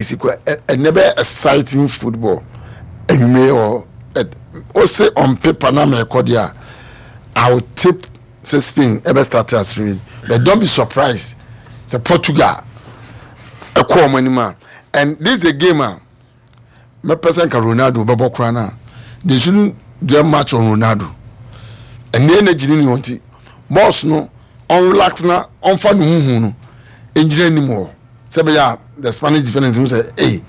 Si kɔ ɛnɛ bɛ exciting football anwummerɛ wɔ ose on paper na mɛkɔ deɛ a I will tip sɛ Spain ɛbɛ start as favorite, but don't be surprised sɛ Portugal ɛkɔ wɔn anim a. And this is a game a mɛpɛ sɛ nka Ronaldo bɛbɔ koraa no a, they shouldn't do much on Ronaldo. Ɛnɛ energy ne ne wɔn ti boss no ɔnrelax na ɔnfa ne huhu no ngyina anim hɔ sɛ bɛyɛ a the Spanish defenders hu sɛ ee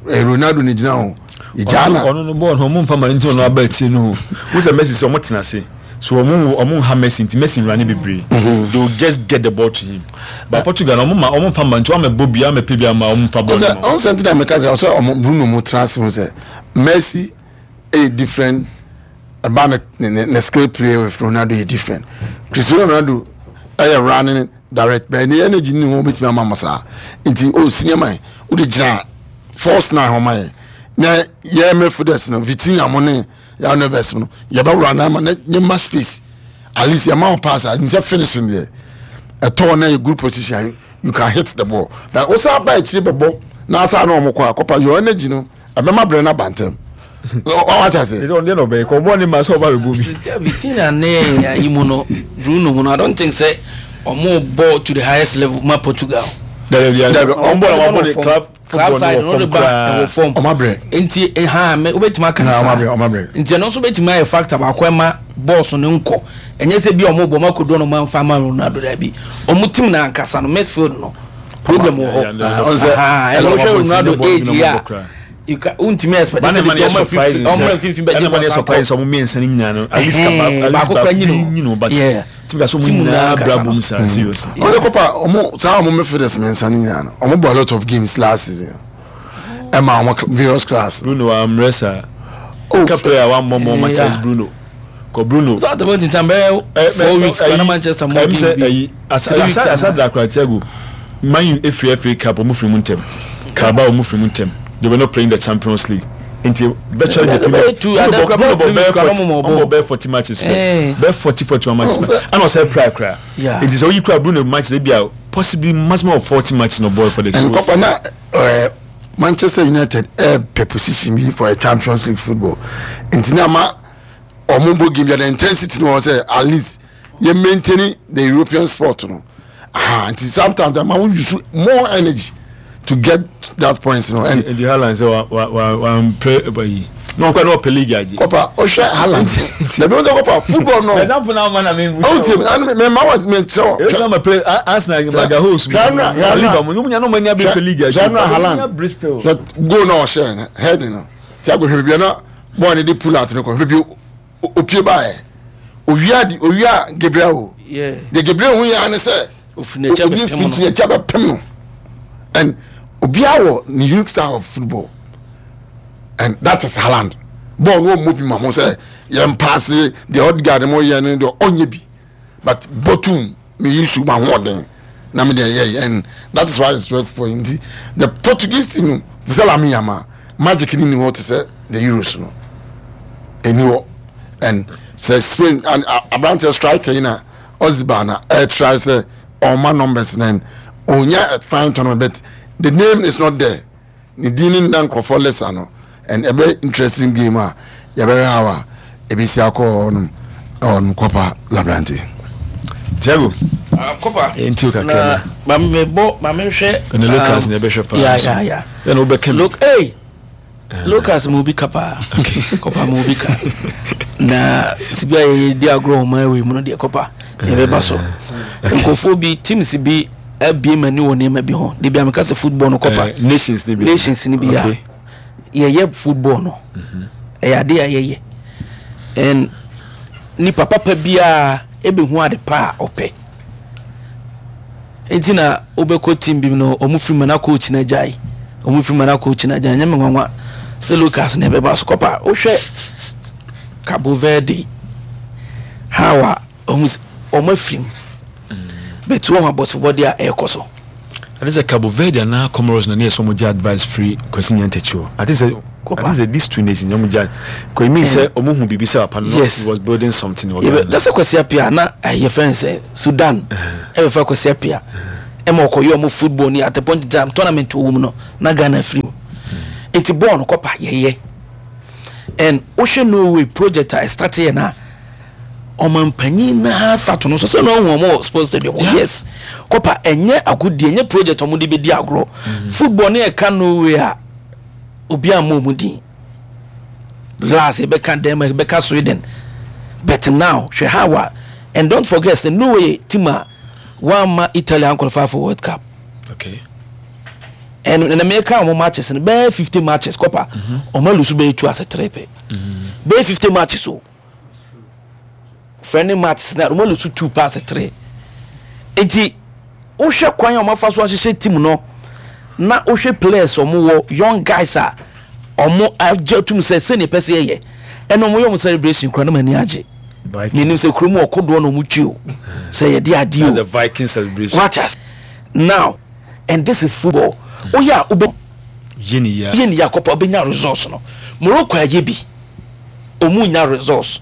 eh, Ronaldo ne gyina hɔ yɛgyaa na ɔno no bɔɔl no ɔmo nfa ma no nti ɔno aba akyire no o wo sɛ Messi sɛ ɔmo tena ase so ɔmo ɔmo nha Messi nti Messi nwura ne bebree mhm. They will just get the ball to him, but eh. Portugal ɔmo ma ɔmo nfa ma nti ɔmo bɔ bia ɔmo pɛ bia ma ɔmo nfa bɔɔl no ma ɔn sɛ nti na meka sɛ ɔsɛ ɔmo Bruno mo tena ase ho sɛ Messi ɛyɛ different ɛba ne ne ne skill play with Ronaldo yɛ different. Cristiano Ronaldo ɛyɛ running direct bɛn ne energy ne ho betumi ama mo saa nti o senior man o de gyina force na ho ma yɛ na yɛ midfielders no Vitinha mo ne yɛ Neves no yɛ bɛ wura na ama ne ne ma space. At least yɛ ma o pass a nsɛ finishing deɛ ɛtɔ na yɛ good position, you can hit the ball, but o sa ba akyire bɛbɔ na asa na wɔn kɔ akɔpa your energy no ɛbɛma brɛ no aba ntɛm wate ase. Ɛsɛ ɔno deɛ na ɔbɛyɛ kɔ ɔbɔ ne ma sɛ ɔba bɛbɔ bi. Sɛ Vitinha ne ayi mu no Bruno mu no, I don't think sɛ ɔmo bɔ to the highest level ma Portugal. Dabi dabi, ɔmo bɔ na ɔmo bɔ ne club club side no de ba ɛwɔ fam. Ɔmo abrɛ. Nti ha mɛ wobɛtumi aka saa. Ɔmo abrɛ, ɔmo abrɛ. Nti ɛno nso bɛtumi ayɛ factor baako ɛma bɔɔso no nkɔ. Ɛnyɛ sɛ bi ɔmo bɔ ɔmo akodo no ɔmo anfa ama Ronaldo, dabi. Ɔmo team na ankasa no midfield no problem wɔ hɔ. Ɛna wohwɛ Ronaldo age yi a, you can wontumi expect sɛ bi ɔmo mfimfini ɔmo mfimfini bɛgye bɔ sanko. Ɛna ɔmo mmiɛnsa no nyinaa no at least ka baako kora nyini o, but timi ka so ɔmo nyinaa bra bom saa seriously. Ɔmo kɔpa ɔmo saa ɔmo midfielders mmiɛnsa no nyinaa no ɔmo bɔ a lot of games last season ɛma ɔmo various clubs. Bruno amrɛ saa. Ka player wa mmɔ mɔ matches Bruno. Kɔ Bruno. Sɛ atɛmɔ tintan bɛyɛ 4 weeks kora na Manchester mɔ game bi. Asa asa da kora Thiago. Man U efiri FA Cup ɔmo firi mu ntɛm. Carabao ɔmo firi mu ntɛm. They were not playing the Champions League. Nti virtually the Premier Bruno bɔ Bruno bɔ bɛyɛ 40, ɔmo bɔ bɛyɛ 40 matches pɛ. Bɛyɛ 40 41 matches pɛ. Ɛna ɔsɛ pra kora. Nti sɛ oyi kora Bruno matches ebi a possibly maximum of 40 matches no bɔ for the season. Nkɔpɔ na ɛɛ Manchester United ɛɛpɛ position bi for a Champions League football. Nti na ma ɔmo bɔ game bi the intensity no wɔ sɛ at least yɛ maintain the European sport no aha. Nti sometimes ama wo use more energy to get that points no. And nti Haaland sɛ wa wa wa wa mpɛ ɛba yi na ɔkɔ na ɔpɛ league agye. Kɔpa ɔhwɛ Haaland dabi wɔn sɛ kɔpa football no. Example na ama na mi. Ɔn ti mi mi ma wa mi kyerɛ wɔ. Ebi na ma play Arsenal Magahoes mu Saliba mu nyɛ na ɔmo anya bi pɛ league agye. Hwɛ Haaland goal na ɔhyɛ no head no Thiago hwɛ bibi na bɔɔl ne de pull out no kɔ hwɛ bi opie baayɛ owia di owia Gabriel o de Gabriel hu yɛ ani sɛ obi fiti n'akyi abɛpem no, and obiara wɔ ne unique style of football, and that is Haaland. Bɔɔl no ɔmmɔ bi ma ho sɛ yɛn paase deɛ Odegaard mo yɛ no deɛ ɔnyɛ bi, but bɔtum me yi su ma hoɔden na me deɛ yɛ, and that is why it's work for him. Nti the Portuguese team no te sɛ Lamine Yamal magic ni ni hɔ te sɛ the Euros no ɛni hɔ. And sɛ Spain and aberanteɛ striker yi na Oziba na ɛtry sɛ ɔma numbers na onya a fine tournament, but the name is not there, ne din ne nna nkurɔfoɔ lips ano. And ɛbɛ interesting game a yɛbɛhwɛ how a ɛbɛsi akɔ hɔnom ɛwɔ Kɔpa Labrante. Tiago. Ah, Kɔpa. Nti o kakra na. Ma me bɔ ma me hwɛ. Ɛna Lucas na ɛbɛhwɛ paa. Ya ya ya. Ɛna wobɛka mi. Look, hey. Lucas mu bi ka paa. Kɔpa mu bi ka. Na sibi a yɛyɛ di agorɔ ɔman wei mu no deɛ kɔpa yɛbɛba so. Nkurɔfoɔ bi teams bi abie m'ani wɔ nneɛma bi ho. De bi a meka sɛ football no kɔpa. Nations ni bi. Nations ni bi a yɛyɛ football no. Ɛyɛ ade a yɛyɛ. And nipa papa biara ɛbɛhu ade pa a ɔpɛ. Nti na wobɛkɔ team bi no ɔmo firi mu na coach no agyae. Ɔmo firi mu na coach no agyae. Nyɛ me nwanwa sɛ Lucas na ɛbɛba so kɔpa. Wohwɛ Cabo Verde how a ɔmo ɔmo afiri mu. But wɔn abɔsobɔde a ɛrekɔ so. Ade sɛ Cabo Verde anaa Comoros na ne yɛ sɛ ɔmo gye advice firi Kwasi Nyantakyi hɔ. Ade sɛ ade sɛ these two nations ɔmo gye kò it means sɛ ɔmo hu biribi sɛ papa no yes he was building something wɔ Ghana. Yɛbɛ sɛ Kwasi Appiah na ɛyɛ fɛn sɛ Sudan ɛbɛfa Kwasi Appiah. Ɛma ɔkɔyɛ ɔmo football ni at a point in time tournament wɔ mu no na Ghana firi mu. Nti bɔɔl no kɔpa yɛyɛ. And wohwɛ Norway project a ɛstart yɛ no a ɔmanpanyin naa fa to no so sɛ na ɔhu ɔmo wɔ sports stadium hɔ yes kɔpa ɛnyɛ agodie ɛnyɛ project ɔmo de bɛdi agorɔ mm. football ne ɛka Norway a obi ammɔ ɔmo din last yɛbɛka Denmark yɛbɛka Sweden but now hwɛ how a and don't forget sɛ Norway team a wɔamma Italy anqualify for World Cup okay. And na meka wɔn matches no bɛyɛ 50 matches kɔpa wɔn alusu bɛyɛ 2 ase 3 pɛ bɛyɛ 50 matches o friendly matches na wɔn alusu 2 pass 3 nti wohwɛ kwan a wɔn afa so ahyehyɛ team no na wohwɛ players wɔn wɔ young guys a wɔn agye atum sɛ sɛnea ɛpɛ sɛ yɛyɛ ɛna wɔn yɛ wɔn celebration kura na wɔn ani agye menim sɛ kurom wɔ kodoɔ na wɔn twi o sɛ yɛde adeɛ o the Viking celebration wate ase now and this is football woyɛ a wobɛ yɛ ne yia yɛ ne yia kɔpa wobɛnya results no Morocco ayɛ bi ɔmu nya results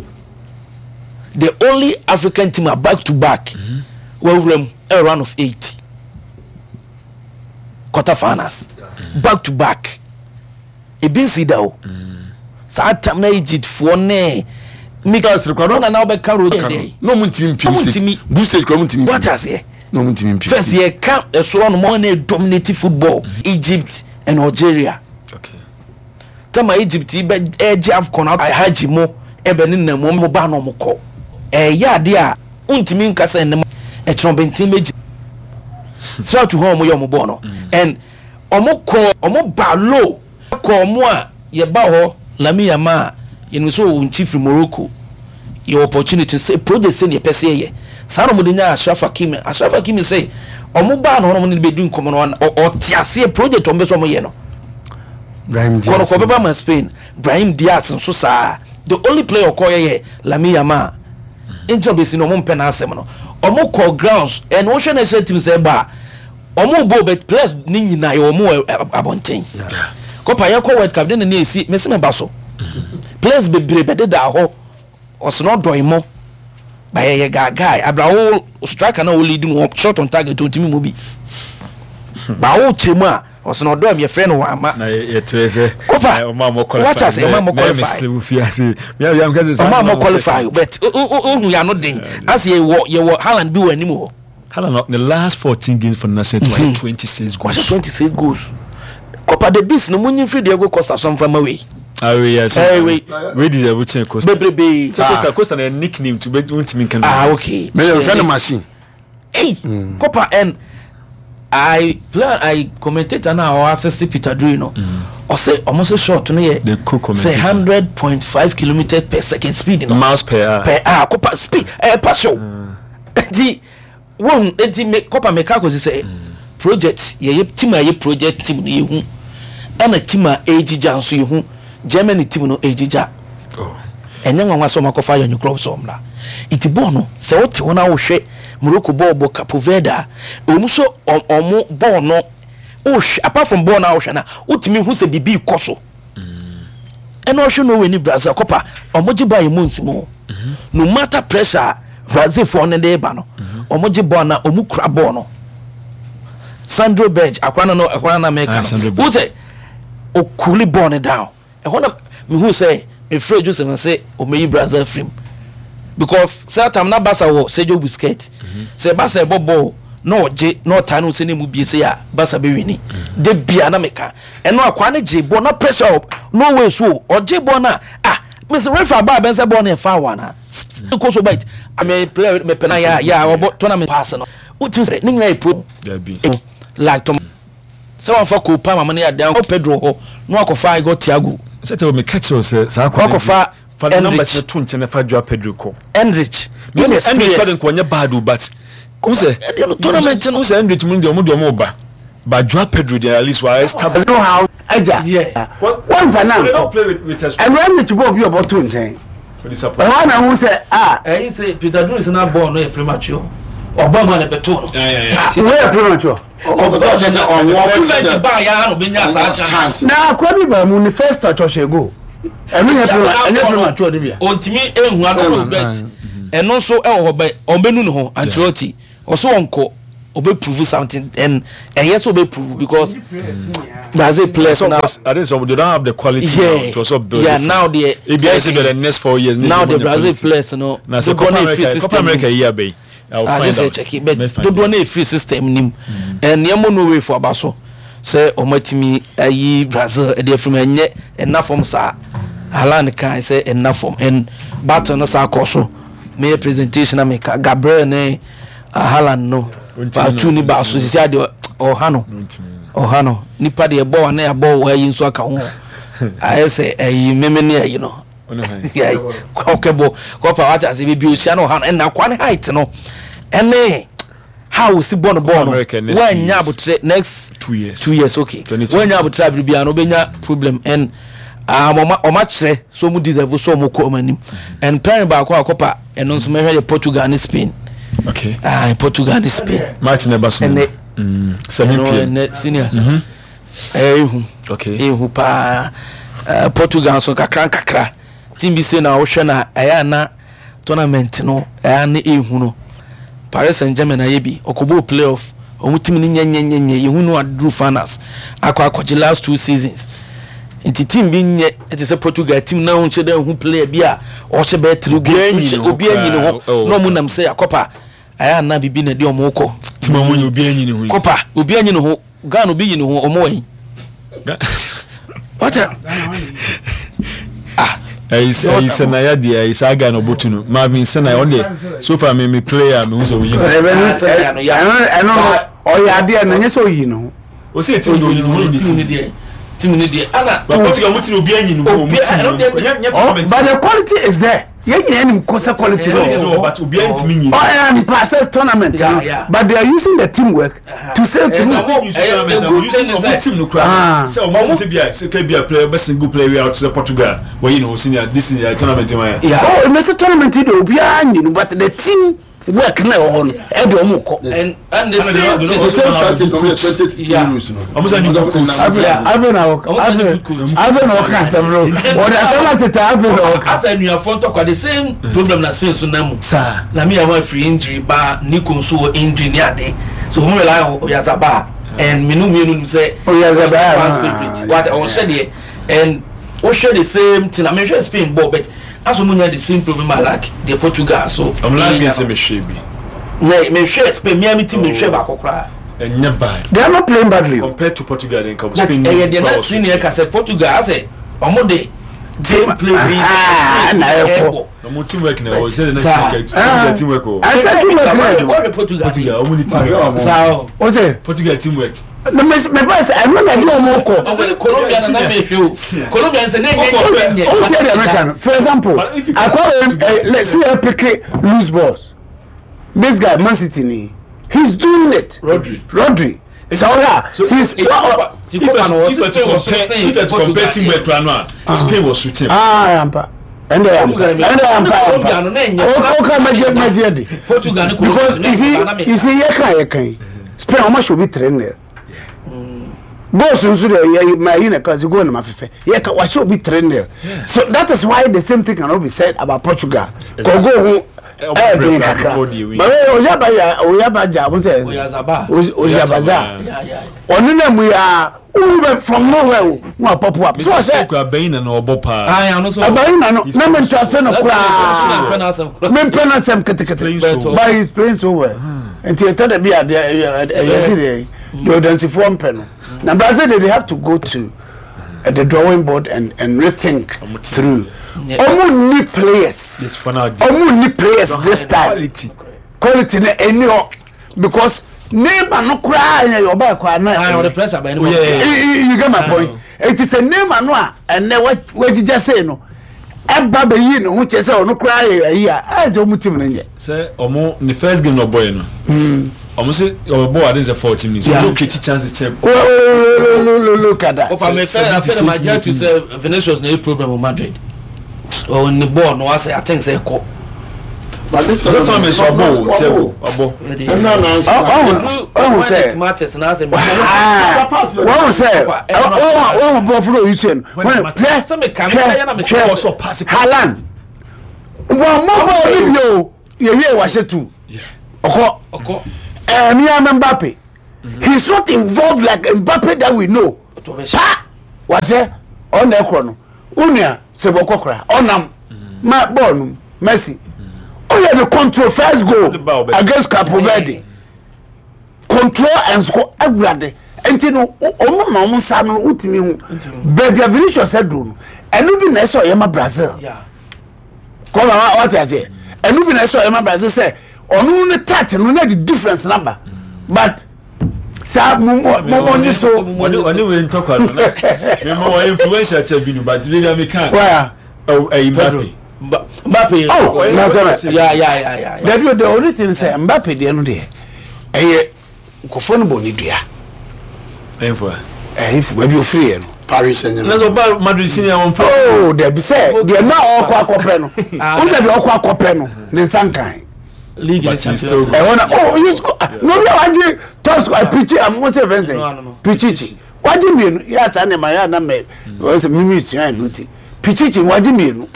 the only African team a back to back mm-hmm. wawura mu a round of eight quarter finals mm-hmm. back to back ebi nsi da o saa tam na Egypt foɔ ne mika na na ɔbɛka road yɛ dɛ na ɔmo ntumi mpim stage group stage kura ɔmo ntumi mpim wate aseɛ na ɔmo ntumi mpim first yɛ ka ɛsoro no mo na dominate football Egypt and Algeria okay. tama Egypt yi bɛ ɛgye AFCON hajj mo ɛbɛ ne nam mo ba na ɔmo kɔ ɛyɛ adeɛ a ntumi nkasa ɛnam ɛkyerɛ ɔbɛnten bɛ gyi srɛ to hɔ ɔmo yɛ ɔmo bɔɔl no and ɔmo kɔ ɔmo ba low kɔ ɔmo a yɛba hɔ Lamine Yamal a yɛnim sɛ ɔwɔ nkyi firi Morocco yɛwɔ opportunity sɛ project sɛ ne yɛpɛ sɛ yɛyɛ saa na ɔmo de nya Achraf Hakimi Achraf Hakimi sɛ ɔmo baa na ɔmo ne bɛdi nkɔmɔ no ɔte aseɛ project ɔmo bɛ sɛ ɔmo yɛ no kɔnɔkɔ bɛba ma Spain Brahim Diaz nso saa the only player ɔkɔ yɛ yɛ Lamine Yamal nti na ɔbɛsi no ɔmo mpɛ n'asɛm no ɔmo kɔ grounds ɛna wɔhwɛ national team sɛ ɛba a ɔmo bɔ bɛ players ne nyinaa yɛ ɔmo wɔ abɔnten kɔpa yɛ kɔ world cup de na ne esi mesi me ba so players bebree bɛ deda hɔ ɔsena ɔdɔn mo ba yɛ yɛ gaagae abrawo striker na ɔlead mu shot on target ɔntumi mu bi ba wo kyerɛ mu a ɔsena ɔdɔn mi yɛfrɛ no wɔ ama na yɛkyerɛ sɛ kɔpa ɔmo a mo qualify wata sɛ ɔmo a mo qualify ɔmo a mo qualify but ohun yɛ ano den asɛ yɛ wɔ yɛ wɔ Haaland bi wɔ anim hɔ. Haaland the last 14 games for the national team mm -hmm. 26 goals. Wahyɛ 26 goals. Copa the Beast no munyi firi Diego Costa so nfa ma wei. Ah wei yes. Eh wei. Wei deserve kyɛn Costa. Bebrebe. Sɛ Costa Costa na nickname to be ntumi nka. Ah okay. Mɛ yɛn fɛ no machine. Hey mm. Copa and I plan I commentator na ɔ asese Peter Drury no. Ɔsɛ ɔmo sɛ shot no yɛ sɛ 100.5 kilometers per second speed no. Miles per hour. Per hour Copa speed ɛyɛ pass o. Nti wohu nti me kɔpa meka akɔsi sɛ project yɛyɛ team a yɛ project team no yɛhu ɛna team a ɛgyigya nso yɛhu Germany team no ɛgyigya ɛnyɛ nwanwa sɛ ɔmakɔfa yɛn club sɛ ɔmmra nti bɔɔl no sɛ wote hɔ na wohwɛ Morocco bɔɔl bɔ Capo Verde a ɛwɔ mu sɛ ɔmo bɔɔl no wohwɛ apart from bɔɔl no a wohwɛ no a wotumi hu sɛ biribi kɔ so ɛna ɔhwɛ Norway ne Brazil kɔpa ɔmo gye bɔɔl a emu nsi mu no matter pressure a Brazil foɔ no de ba no ɔmo gye bɔɔl na ɔmo kura bɔɔl no Sandro Berge akora no no akora no mɛka no wo sɛ okuli bɔɔl no down ɛhɔ na mehu sɛ mefrɛ Joseph no sɛ ɔmɛyi Brazil firim because sɛ tam na Barca wɔ Sergio Busquets sɛ Barca ɛbɔ bɔɔl na ɔgye na ɔtaa no sɛ ne mu bie sɛ a Barca bɛwini de bia na meka ɛno akwaa no gye bɔɔl na pressure wɔ Norway so o ɔgye bɔɔl no a ah mesi refa baa bɛn sɛ bɔɔl no yɛ foul ana kɔ so bite ame player mepɛ na yɛ yɛ ɔbɔ tournament pass no wotumi sɛ ne nyinaa yɛ pro like tɔm sɛ wɔnfa ko pa mama no yɛ adan kɔ Pedro hɔ na wakɔfa Igor Thiago sɛ tɛ meka kyerɛ sɛ saa kwan wakɔfa fa ne numbers no to nkyɛn na fa Joao Pedro kɔ Enrich Enrich kɔ de nkɔ nyɛ bad o but n sɛ ɛdeɛ no tournament no n sɛ Enrich mu deɛ ɔmo deɛ ɔmo ba but Joao Pedro deɛ at least wa establish. no how agya wɔnfa na nkɔ ɛwura Enrich bɔ obi ɔbɔ to nkyɛn ɛhɔ na ho sɛ a. ɛyin sɛ Peter Drury sɛ na bɔɔl no yɛ premature ɔbɔ mu a na ɛbɛto no. wei yɛ premature. na akora bi ba mu ne first touch ɔhyɛ goal ɛno nyɛ ɛnyɛ premature de bia. ontumi ehu adɔrɔ bet ɛno nso ɛwɔ hɔ bɛ ɔbɛnu ne ho Ancelotti ɔso ɔnkɔ. Obe prove something and ɛyɛ sɛ obe prove because Brazil players now. I think so they don't have the quality yeah, now to also build. Yeah, now they. Ebi ayɛ sɛ the next 4 years. Now the Brazil players no. Na sɛ Copa America, Copa America yi abɛyi. I will find out. Check it, but dodoɔ na efiri system nim. Nneɛma no way for aba so sɛ wɔn atumi ayi Brazil ɛde afiri mu, ɛnyɛ ɛna fam saa. Haaland kan sɛ ɛna fam and battle no saa kɔ so. Meyɛ presentation na meka Gabriel ne Haaland no baatu ne baaso sisi adeɛ ɔha no, ɔha no nipa deɛ ɛbɔ wa na yɛabɔ wɔ ayi nso aka ho, ayɛ sɛ ɛyi meme ne ayi no kɔkɛbɔ kɔpa wate ase beebi ohyia no ɔha no ɛna akwa ne height no ɛne how osi bɔ no bɔɔl no wanya abotire next 2 years. 2 years, okay, wanya abotire abiri biara no obenya problem and ɔma kyerɛ so ɔmo deserve so ɔmo kɔ ɔmo anim. And pairing baako a kɔpa ɛno nso mɛhwɛ yɛ Portugal ne Spain. Ah, Portugal ne Spain match ne ba so. Ɛnɛ 7 p.m. Ɛnɛ senior ɛyɛ ehu. Ehu paa. Portugal nso kakra nkakra team bi se na wohwɛ na ɛyɛ ana tournament no ɛyɛ ana ehu no. Paris Saint Germain ayɛ bi, ɔkɔbɔ playoff, ɔmo team no nyɛnyɛnyɛnyɛ, yehu no aduru finals akɔ akɔgye last two seasons, nti team bi nyɛ ɛte sɛ Portugal team na ɔnhyɛ dɛ ehu player bi a ɔhyɛ bɛyɛ three goals, obiara nyi ne ho na ɔmo nam sɛ akɔpa ɛyɛ ana bibi na ɛde ɔmo kɔ. Team a ɔmo nyɛ obiara nyi ne ho yi. Kɔpa obiara nyi ne ho. Ghana obi yi ne ho, ɔmo wɔ yi wata ah. Ɛyi sɛ na ya deɛ ɛyi saa guy na ɔbɔ tu no Marvin sɛ na ɔno deɛ so far mi player mi hu sɛ oyi. Ɛno no ɔyɛ adeɛ no nyɛ sɛ oyi ne ho. O se team de oyi ne ho ne team ne deɛ, team ne deɛ ana. But Portugal mo ti obi anyi ne ho mo team no nyɛ nyɛ tournament. But the quality is there, yɛn nyinaa nim ko sɛ quality no wɔ. But obi antumi nyi. Ɔ ɛ mpa sɛ tournament no, but they are using the teamwork to sail through. Ɔmo team no kura sɛ ɔmo ti sɛ bi a sɛ kɛ bi a player bɛ single player wi out sɛ Portugal wɔyi ne ho senior this year tournament ma yɛ. Oh, mɛ sɛ tournament yi de obiara nyi no, but the team work na ɛwɔ hɔ no ɛde ɔmo kɔ. And the same thing. The same strategy ɔmo yɛ 2016 rules no. Ɔmo sɛ new coach. Afei na ɔka, afei na ɔka asɛm no, ɔde asɛm atete, afei na ɔka. Asa anuafoɔ ntɔkwa, the same problem na Spain so nam mu. Saa. Na mi yàrá firi injury ba, Nico nso wɔ injury ne ade, so wɔn rely on Oyarzabal and menu mienu nim sɛ Oyarzabal fans favourite wate ɔhyɛ deɛ and wohwɛ the same thing. I mean, hwɛ Spain ball, but aso mo nya the same problem I like the Portugal so. Ɔmo last game sɛ mi hwɛ bi. Na mehwɛ Spain mia mi team, mehwɛ baako koraa. Ɛnyɛ bad. They are not playing badly. Compared to Portugal then but Spain. Ɛyɛ deɛ na senior ka sɛ Portugal asɛ ɔmo de game play bi. Ɛna ɛkɔ. Ɔmo teamwork na ɛwɔ sɛ ɛna Portugal teamwork o. Ɛsɛ teamwork na ɛdwuma. Ɔhwɛ Portugal. Portugal ɔmo ni teamwork. Saa o. O sɛ. Portugal teamwork. Na mɛ mɛ ba sɛ ɛno na ɛde ɔmo kɔ. Ɔsɛ ni Colombia na na mehwɛ o. Colombia nsɛ ne nyɛ nyɛ nyɛ. O tiɛ deɛ mɛka no, for example, akɔrɔ ɛ lɛ si yɛ pick loose balls, this guy Man City ni, he's doing it. Rodri. Rodri sɛ ɔhɛ he's. If you to compare teamwork to ano a, Spain was so team. Ah, yampa ɛnna yampa, ɛnna yampa, yampa o ka mɛgye mɛgye di because you see you see yɛ kan yɛ kan Spain ɔmo ahyɛ obi 3-0, goals nso de yɛ ma yi na kasi goal na ma fɛfɛ yɛ ka wahyɛ obi 3-0, so that is why the same thing cannot be said about Portugal kɔ goal ho ɛyɛ den kakra, but oyaba oyaba gya ɔmo sɛ oyabaza ɔno na mu ya who bɛ from nowhere o wa pop up so ɔhyɛ. Abayi na na ɔbɔ paa. Abayi na no na mi ntɔ no koraa, mi mpɛ n'asɛm ketekete, but he is playing so well, nti ɛtɔ da bi a deɛ ɛyɛ si deɛ deɛ ɔdansifoɔ mpɛ no na Brazil they have to go to the drawing board and rethink through. Ɔmo ni players, ɔmo ni players this time, quality na ɛni hɔ because Neymar no koraa yɛ ɔbaa koraa na you get my point. Eti sɛ Neymar no a ɛnɛ wagyigya sei no ɛba bɛyi ne ho kyɛ sɛ ɔno koraa yɛ ayi a ɛyɛ sɛ ɔmo team no nyɛ. Sɛ ɔmo ne first game na ɔbɔ yɛ no, ɔmo sɛ ɔbɔ ade sɛ 14 minutes ɔmo create chances kyɛn. Look at that. Ɔpa mi fɛ afɛ na ma jẹ́ tu sɛ Vinicius na yɛ problem wɔ Madrid, ɔwɔ ne bɔɔl no wasɛ, I think sɛ ɛkɔ. But this tournament ɔbɔ o Thiago ɔbɔ. Ɔhun sɛ wɔn sɛ wɔn bɔ fúlọ̀ yi tiẹ̀ no wɔn hwɛ hwɛ hwɛ Haaland wɔn mɔ bɔɔl ni bi o yɛ wie wahyɛ tu ɔkɔ. Ɛɛ Mbappe. He is not involved like Mbappe that we know. Pa wasɛ ɔna ɛkorɔ no. Onua sɛ bɔkɔ kora ɔnam ma bɔɔl no Messi. Ɔyɛ the control first goal against Capo Verde. Control and score awurade. Nti no ɔmo ma ɔmo nsa no wotumi ho. Baabi a Vinicius aduro no ɛno bi na ɛsɛ ɔyɛ ma Brazil. Kɔma wate aseɛ. Ɛno bi na ɛsɛ ɔyɛ ma Brazil sɛ ɔno ne touch no na de difference na ba but saa mo mo ni so. Ɔne wei ntɔkwa no na mema wɔ influential kyɛ bi no but bi na meka ɛyi Mbappe. Mbappe. Oh na sɛ ya ya ya ya. Dabi the only thing sɛ Mbappe deɛ no deɛ ɛyɛ nkɔfoɔ no bɔ ne dua. Ɛnfo a. Ɛnfo baabi ofiri yɛ no. Paris Saint Germain. Na sɛ ɔba Madrid sini a wɔn fɛ. Oh dabi sɛ deɛ na ɔkɔ akɔpɛ no o sɛ deɛ ɔkɔ akɔpɛ no ne nsa nkan. League ne Champions League. Ɛhɔ na oh you score na obi a wagye top score pirikyi amu sɛ fɛn sɛ pirikyi wagye mmienu yɛ asa ne ma yɛ ana mɛ ɔsɛ mímí sua ɛnu ti pirikyi wagye mmienu.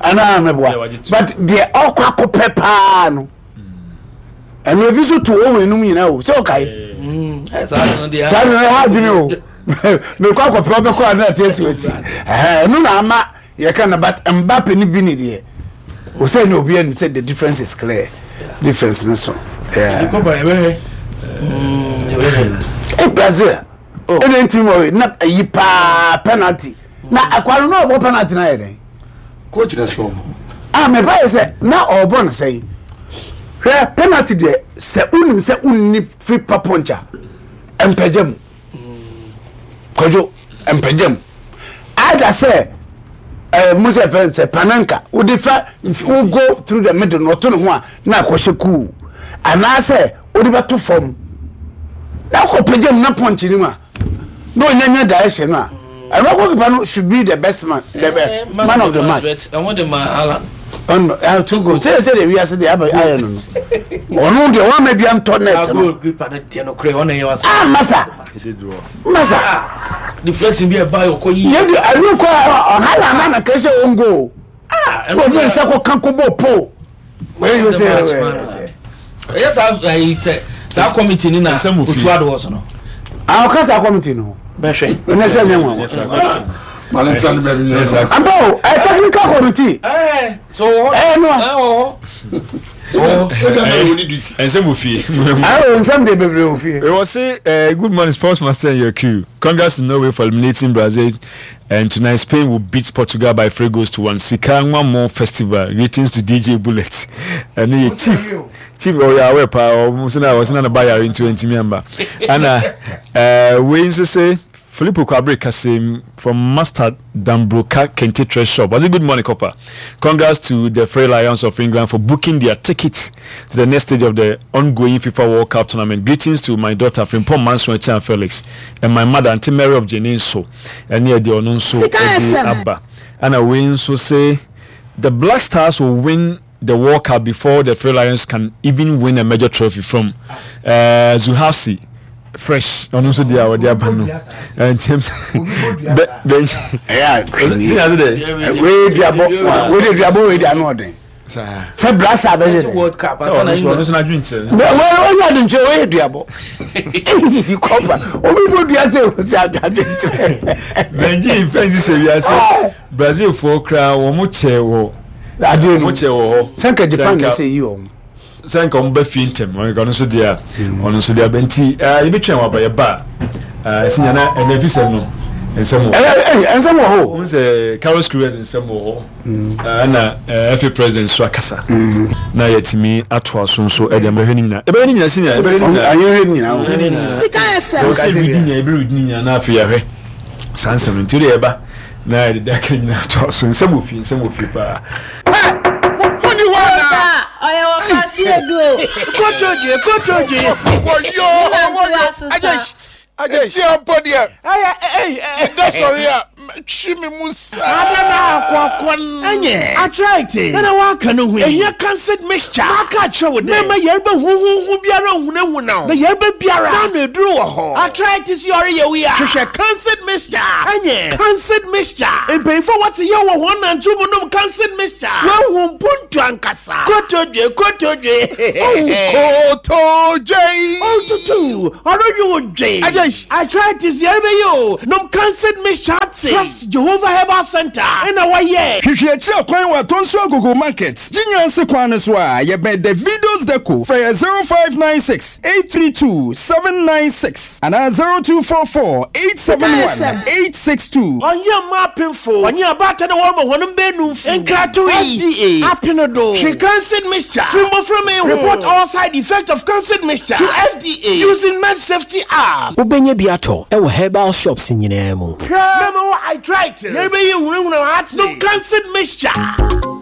Anaa mɛboa but deɛ ɔkɔ akɔpɛ paa no ɛno ebi nso to wɔn enum nyinaa o sɛ ɔkae saa de no ɛha adwene o mekɔ akɔpɛ ɔbɛkɔ a na ate asi w'akyi ɛno na ama yɛka no but Mbappe ne Vini deɛ o sɛ ne obi anim sɛ the difference is clear difference no so Brazil ɛna ntumi wɔ na ayi paa penalty na akwa no na ɔbɔ penalty na ayɛ dɛn. Coach na sɔ ɔmo. Ah mepa yɛ sɛ na ɔbɔ no sɛn hwɛ penalty deɛ sɛ wonim sɛ wonni free pa punch a mpagya mu kwadwo mpagya mu ada sɛ ɛɛ mo sɛ fɛn sɛ pananka wode fa wo go through the middle na ɔto ne ho a na akɔhyɛ kuu anaasɛ wode bɛto fam na akɔ pagya mu na punch no mu a na ɔnyanya direction no a ɛno goalkeeper no should be the best man the eh, man of the match. ɛho de ma Haaland. ɔno ɛɛ two goals sɛ sɛ de wiase de aba ayɛ no no ɔno deɛ wɔn ama bi antɔ net no. goalkeeper no deɛ no korɛ ɔna yɛ wasa. ah masa masa. deflection bi ɛba yɛ ɔkɔ yi. yɛ di ɛnu kɔ Haaland na na kɛse wɔn goal. ah ɛnu ɔdi nsa kɔ kanko bɔ pole. ɛyɛ saa ɛyi sɛ saa committee ni na otu ado wɔ so no. a ɔka saa committee no bɛhwɛ. ɛnɛ sɛ nyɛ nwanwa. ampa o ɛ technical committee. ɛɛ so wɔ hɔ ɛɛ no ɛɛ wɔ hɔ. Nsɛm wɔ fie. Ayo nsɛm de bebree wɔ fie. We will say uh, good morning sports master and your crew. Congrats to Norway for eliminating Brazil And tonight Spain will beat Portugal by 3 goals to 1. Sika Nwamo Festival. Greetings to DJ Bullet. Ɛno yɛ chief. Chief ɔyɛ awɛ paa. Ɔmo sɛ na ɔsɛ na ne ba yare nti ɔntumi amba. Ɛna ɛɛ wei nso sɛ Filippo Kwabre Kasim from Master Dambroka Kente Trade Shop. Was it good morning, Copper? Congrats to the Three Lions of England for booking their ticket to the next stage of the ongoing FIFA World Cup tournament. Greetings to my daughter Frimpong Manson Echan Felix and my mother Auntie Mary of Jeninso. Ɛne ɛdeɛ ɔno nso de aba. Ɛna wei nso se the Black Stars will win the World Cup before the Three Lions can even win a major trophy from uh, Zuhafsi fresh ɔno nso deɛ a ɔde aba no ntiam sɛ bɛ bɛ ɛyɛ a wei duabɔ wei duabɔ wei de ano ɔden sɛ brasa bɛyɛ dɛ world cup ansa na ɔno nso n'adwenkyerɛ ɔnyɛ adwenkyerɛ ɔyɛ duabɔ kɔfa obi bɔ dua sɛ ɔsɛ adwenkyerɛ bɛngye mfɛnsi sɛ wiase brazilfoɔ koraa wɔn kyɛ wɔ adeɛ no wɔn kyɛ wɔ hɔ sɛ nka japan na sɛ yi wɔn sɛ nka wɔn bɛ fie ntɛm ɔno nso deɛ a ɔno nso deɛ abɛ nti yɛbɛtwɛn wɔ aba yɛba a ɛsi nyana ɛnɛ fi sɛm no nsɛm wɔ nsɛm wɔ hɔ wɔn sɛ Carlos Queiroz nsɛm wɔ hɔ ɛna FA president nso akasa na yɛtumi atoa so nso ɛde ɛbɛhwɛ ne nyinaa ɛbɛhwɛ ne nyinaa senior ɛbɛhwɛ ne nyinaa ɛbɛhwɛ ne nyinaa Sika FM wɔn sɛ ɛbɛdi nyinaa ɛbɛredi ne nyinaa na afei yɛahwɛ saa nsɛm no nti o de yɛba na yɛde daka nyinaa atoa so nsɛm wɔ fie nsɛm wɔ fie paa. Muni hɔ anaa? Ɔyɛ wɔ kwasi edu o. Kotodwe kotodwe. Wɔyɔ wɔyɔ. Agye agye. Esi ampo deɛ. Ɛyɛ ɛyɛ. Ɛda sɔre a. Atwe me mu saa. Ada na akɔakɔ n. Ɛnyɛ arthritis na waka no ho yi. Ehia Kansed mixture. Maka akyerɛ wo dɛ mɛmma yarba huhuuhu biara nnhunahuna wo. Na yarba biara n'ano eduru wɔ hɔ. Arthritis yɛ ɔreyɛ wo yi a, hwehwɛ Kansed mixture. Ɛnyɛ Kansed mixture. Mpanyimfo a wɔtse yaw wɔ hɔn nantsew mu nom Kansed mixture. Woehu mpontu ankasa. Kotodwe, kotodwe. Oh, kotodwe. Oh, tutu, ɔrodwe wo dwe. Arthritis yarba yi o, nom Kansed mixture atse. Trust Jehovah Herbal Center na wɔyɛ. Hwehwɛ akyiri kwan wɔ Atonsu Agogo Market, Gyinya ase kwan no so a, yɛbɛn Davido's Deco. Frɛ yɛ 0596 832 796 anaa 0244 871 862. Ɔnye mma apemfo, ɔnye abaatan a wɔrema hɔn mba enumfo nkratow yi, FDA apen do. Hwe Kansed Mixture fi mbofra ho. Report all side effects of Kansed Mixture to FDA using MedSafety app. Wobɛnya bi atɔ wɔ herbal shops nyinaa mu. Hwɛ! Mɛma wo arthritis. Yɛrebɛyi nhunahuna w'atse. Nom Kansed Mixture.